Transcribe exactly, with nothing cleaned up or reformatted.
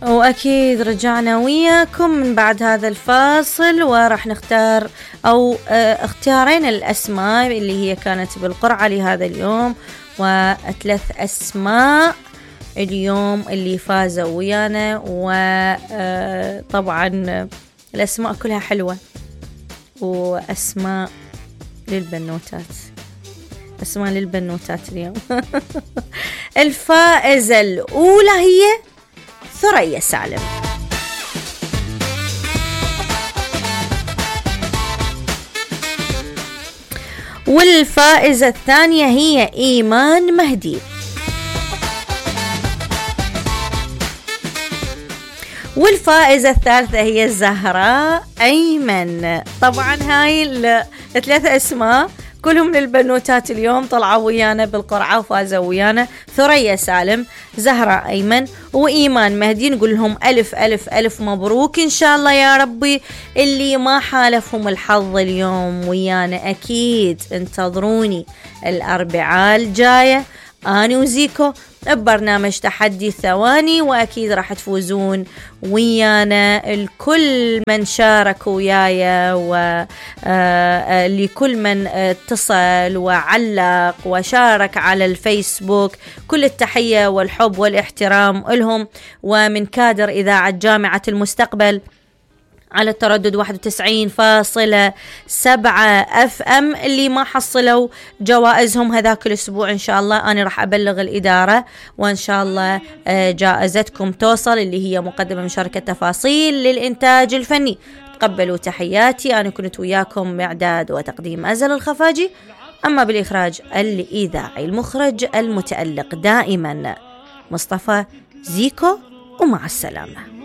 وأكيد رجعنا وياكم من بعد هذا الفاصل، وراح نختار أو اختيارين الأسماء اللي هي كانت بالقرعة لهذا اليوم، وثلاث أسماء اليوم اللي فازوا ويانا. وطبعا الأسماء كلها حلوة وأسماء للبنوتات، أسماء للبنوتات اليوم. الفائزة الأولى هي ثريا سالم، والفائزة الثانية هي إيمان مهدي، والفائزة الثالثة هي زهراء أيمن. طبعا هاي الثلاثة أسماء كلهم للبنوتات اليوم طلعوا ويانا بالقرعة وفازوا ويانا. ثريا سالم، زهراء أيمن، وإيمان مهدي، نقول لهم ألف ألف ألف مبروك إن شاء الله يا ربي. اللي ما حالفهم الحظ اليوم ويانا أكيد انتظروني الأربعاء الجاية أنا وزيكو ببرنامج تحدي الثواني، وأكيد راح تفوزون ويانا الكل من شارك ويايا، ولكل من اتصل وعلق وشارك على الفيسبوك كل التحية والحب والاحترام لهم. ومن كادر إذاعة جامعة المستقبل على التردد واحد وتسعين فاصلة سبعة اف ام اللي ما حصلوا جوائزهم هذاك الاسبوع ان شاء الله انا راح ابلغ الاداره، وان شاء الله جائزتكم توصل، اللي هي مقدمه من شركه تفاصيل للانتاج الفني. تقبلوا تحياتي، انا كنت وياكم باعداد وتقديم أزل الخفاجي، اما بالاخراج الاذاعي المخرج المتالق دائما مصطفى زيكو، ومع السلامه.